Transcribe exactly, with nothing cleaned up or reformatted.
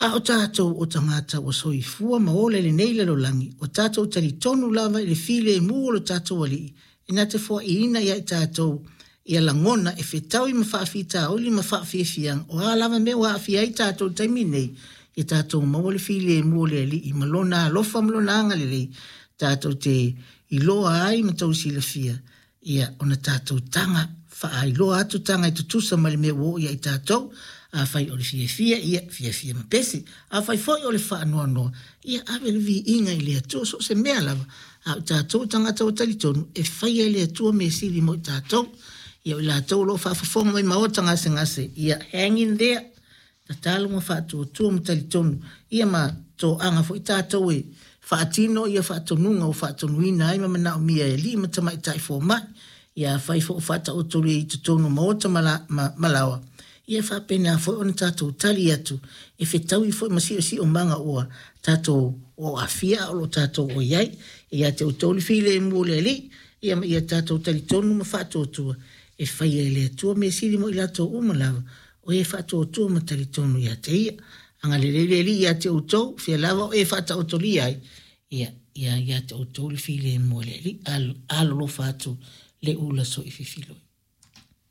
A o tatou o tagata ua soifua ma ola i lenei lalolagi, ua tatou talitonu lava i le filemu o lo tatou Alii, e na te foaiina ia i tatou ia lagona e fetaui ma faafitauli ma faafiafiaga, o a lava mea ua aafia ai tatou i le taimi nei, ia tatou maua le filemu o le Alii ma lona alofa ma lona agalelei, tatou te iloa ai ma tou silafia, ia ona tatou taga faailoa atu taga e tutusa ma le mea ua oo ia i tatou. Afai o le fiafia, ia fiafia ma pese. Afai foi o le faanoanoa, ia ave le viiga i le Atua, so o se mea lava. A o tatou tagata ua talitonu, e faia e le Atua mea sili mo i tatou. Ia o i latou o lo o faafofoga mai maota gasegase, ia hang in there. Tatalo ma faatuatua ma talitonu, ia ma toaga foi tatou e faatino ia faatonuga ua faatonuina ai ma manaomia e alii ma tamaitai fomai. Ia afai foi ua faataotolia i totonu o maota ma, la, ma, ma laoa, ia faapena foi ona tatou tali atu e fetaui foi ma siosiomaga ua tatou o aafia a o lo o tatou o i ai. Ia te outou le filemu o le Alii, ia ma ia tatou talitonu ma faatuatua e faia e le Atua mea sili mo i latou uma lava, o e faatuatua ma talitonu ia te ia. Agalelei le Alii ia te outou, fia lava o e faataotolia ai, ia, ia ia te outou le filemu o le Alii. Alolofa atu le ula soififiloi.